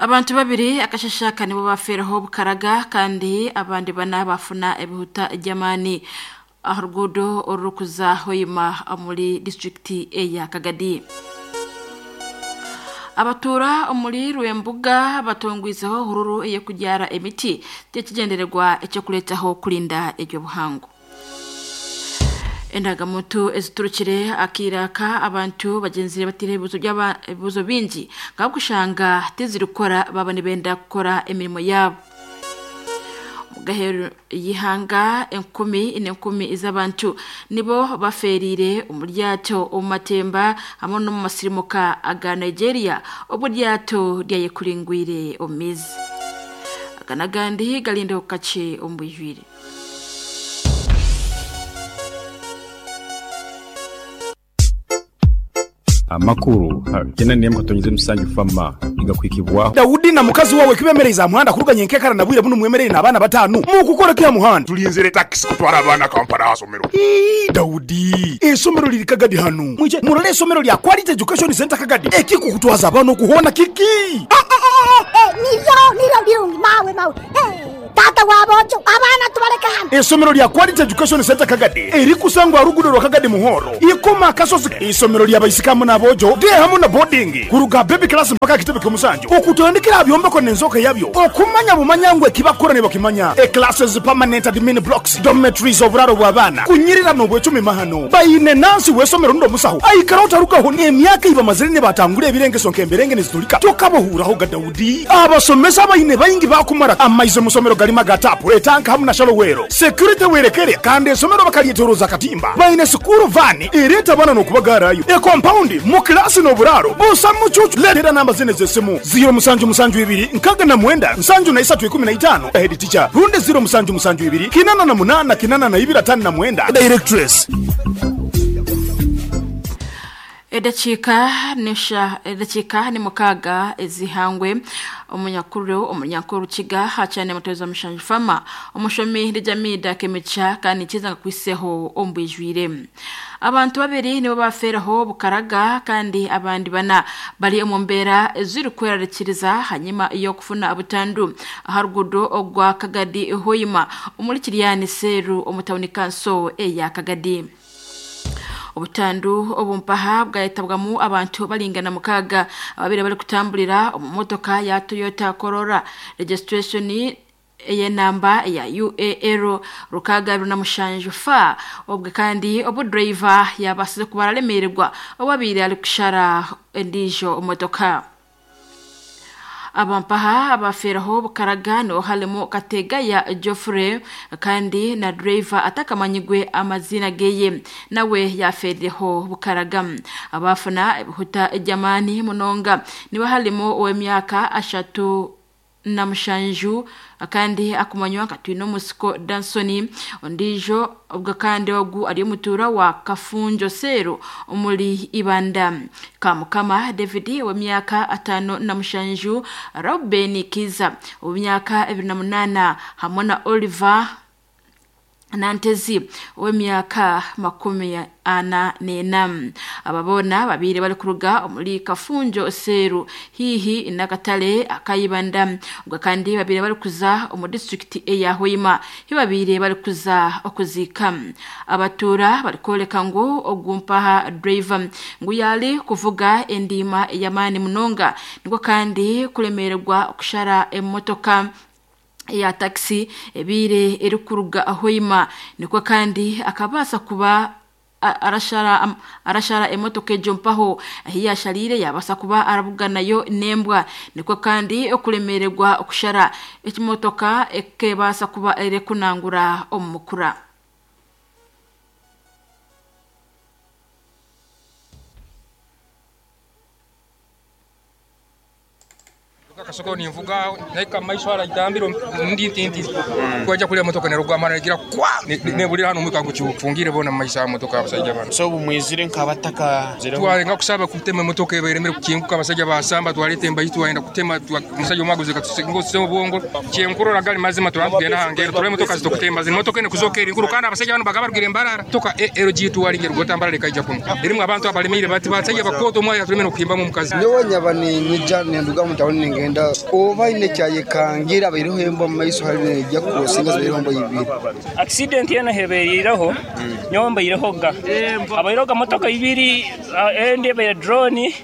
Abantu babiri akashashaka nibo bafeereho bukaraga kandi abandi bana bafuna ebihuta by'amaani aha ruguudo orurikuza Hoima omuri disiturikiti eya Kagadi. Abatuura omuri Rwembuga batongwizeho hururu ey'okubyara emiti ky'ekigyendererwa eky'okureetaho kurinda eby'obuhangwa. Endagamuntu eziturukire akaire aka abantu bagyenzire bataire ebibuuzo bingi ahabw'okushanga tizirikukora baaba nibenda kukora emirimo yaabo. Omu y'eihanga enkumi n'enkumi z'abantu nibo bafeereire omu ryato omu matemba hamwe n'omu masirimuka aga Nigeria obu eryato ryayekuringwire omu maizi. Aga n'agandi garindeho kakye omu bwijwire. Amakuru gena n'emwe katonyeze emusanju fama nigakuhikibwaho. Daudi na mukazi wawe kibemereize aha muhanda kuruga nyenkekara na bwire bunu mwemereire n'abaana batanu mukukora ki aha muhanda? Tulinzire takisi kutwara abaana Kampala aha somero. Ii, Daudi, eisomero liri Kagadi hanu. Mwije murole eisomero lya Quality Education Centre Kagadi. Ekikukutwaza abaana oku hoona kiki? Niryo, niryo birungi mawe, mawe. Taata wa boojo, abaana tubaleke hanu. Eisomero lya Quality Education Centre Kagadi erikusangwa aha ruguudo rwa Kagadi Muhoro, Ikoma Akasozi. Eisomero lya baisiki hamu n'aboojo, day hamu na boarding, kuruga aha baby class mpaka aha kitebe ky'omusanju. Okutandikira aha byombeko n'enzooka yabyo, okumanya bumanya ngu eki bakukora nibakimanya. E Classes, permanent admin blocks, dormitories, oburaaro bw'abaana, kunyirira n'obwecumi mahano. Baine nansi w'eisomero rundi omusaho aikara otarugaho n'emyaka ei bamazire nibatangura ebirengeso nk'emberenge niziturika tokabahuuraho ga Daudi. Abasomesa abaine baingi baakumara amaizi omu somero garimu aga taapu, etanka hamu na shalowero. Security werekere kandi eisomero bakaryetoroza akatimba. Baine sikuuru vaani ereeta abaana n'okubagaarayo. Ekompaundi, mu kilaasi n'oburaaro busa mucuucu. Leetera namba zinu ez'esimu, ziiro musanju musanju ibiri 69 73 15, Head teacher, rundi ziiro musanju musanju ibiri 88 82 59, Directress. Edakiika n'esha edakiika ni mukaaga ez'eihangwe, omunyakuru omunyankore Rukiga hakyane mutwezo Mushanju Farmer, omushomi Rijamiida Kemigisha kandi nikiza nkakuhiseho omu bwijwire. Abantu babiri nibo bafeeraho bukaraga kandi abandi bana bari omu mbeera ezirikwerarikiriza hanyima y'okufuna butandu aha ruguudo ogwa Kagadi Hoima omuri Kiryani Seeru omu tawuni kanso eya Kagadi. Obutandu obu mpaha bwayetabwamu abantu baringana mukaaga ababaire barikutamburira omu motoka ya Toyota Corolla registration ey'enamba ya UAL 67 F obwe kandi obu driver yabaasize kuba araremeererwa obu abaire arikushara endiijo motoka. Abampaha abafeeraho bukaraga niho harimu Kategaya Geoffrey kandi na driver atakamanyirwe amaziina geye nawe yafeerireho bukaraga. Abaafuna ebihuta eby'amaani munonga nibo harimu ow'emyaka 37 kandi akumanywa nka Twinomusiko Danson ondiijo obwo kandi ogu ari omutuura wa Kafunjo Seeru omuri Ibanda. Kamukama David ow'emyaka 57, Reuben Kiza ow'emyaka 28 hamwe na Oliver Nantezi ow'emyaka 44. Aba boona babaire barikuruga omuri Kafunjo Seeru haihi n'akatare aka Ibanda obwo kandi babaire barikuza omu disiturikiti eya Hoima ahi babaire barikuza okuziika. Abatuura barikworeka ngu ogu mpaha driver ngu yaari kuvuga endiima ey'amaani munonga nikwo kandi kuremeererwa kushara emotoka eya takisi ebaire erikuruga Hoima nikwo kandi akabaasa kuba arashara arashara emotoka egyo mpaho ahi yashariire yabaasa kuba arabuganayo n'embwa nikwo kandi okuremeererwa okushara ekimotoka ekebaasa kuba erikunangura omu mukura. Akasoko ninvuga nahika mumaiso hare aitambiro ndi nti nti kwaija kuriya emotoka nerugwa amani negira kwa neburira hanu omwika gukifungiire boona mumaiso aha motoka abasaija banu. So obu mwizire nk'abataka? Twalenga kusaba kutema emotoka eba eremire kukinguka abasaija basamba twareta embahi twayenda kutema omusaija omwe aguze ngu obwongo kyenkurora gari mazima turaba nitugenda aha ngendo turebe emotoka zitukutemba zinu emotoka enu kuzoka eri nkuru kandi abasaija banu bakaba barugire Mbarara motoka ALG tuwaringa erugota Mbarara ekaija kunu erimu abantu abaremeire bati basaija bakooto omwe ayaturemire nokuhimbamu omukazi. Nyowe nyaba niinyija ninduga omu tauni ningenda. kwenda oba aine ekyayekangira abaireho embwa omu maiso hariyo neija kukurosinga zibaireho embwa ibiri. Accident yoona eheberiireho nyowe mbairehoga. Habairehoga motoka ibiri endi ebaire drone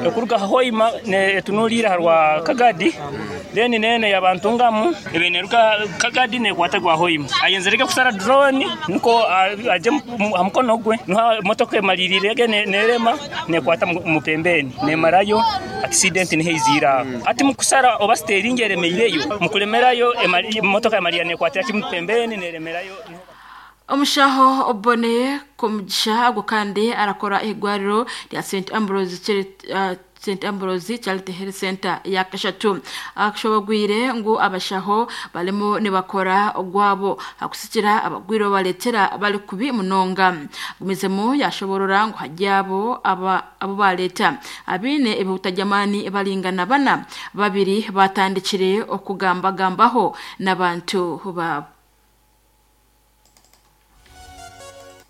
ekuruga Hoima etunuliire aha rwa Kagadi then n'enu eya Bantungamu ebaire neruga Kagadi nekwata gwa Hoima. Ayenzire ge kushara drone nikwo agye aha mukono gwe niho motoka emaririire ge nerema nekwata omu pembeni nemarayo accident niho eiziire aho. Hati mukushara oba siteringi eremeireyo mukuremerayo emotoka yamarira nekwatira kimwe pembeni neremerayo. Omushaho Boney Komugisha ogwo kandi arakora ah'eirwariro rya St Ambrose St Ambrose Charity Health Centre eya kashatu ashobogwire ngu abashaho barimu nibakora ogwabo hakusikira abagwire babaretera bari kubi munonga. Agumizemu yashoborora ngu hari abo abu bareta abaine ebihuta by'amaani baringana bana, babiri batandikire okugambagambaho n'abantu baabo.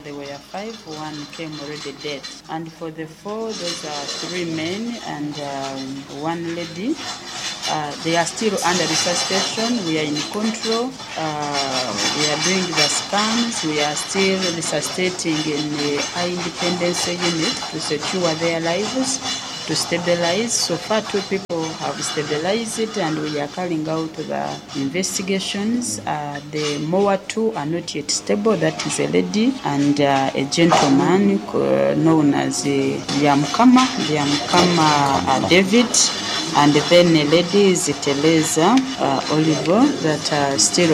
There were five, one came already dead. And for the four, those are three men and um, one lady. Uh, they are still under resuscitation. We are in control. Uh, we are doing the scans. We are still resuscitating in the high independence unit to secure their lives, to stabilize. So far, two people have stabilized it and we are carrying out the investigations. Uh, the more two are not yet stable. That is a lady and uh, a gentleman uh, known as uh, Yamkama, Yamkama uh, David, and then a lady is Teresa Oliver that are still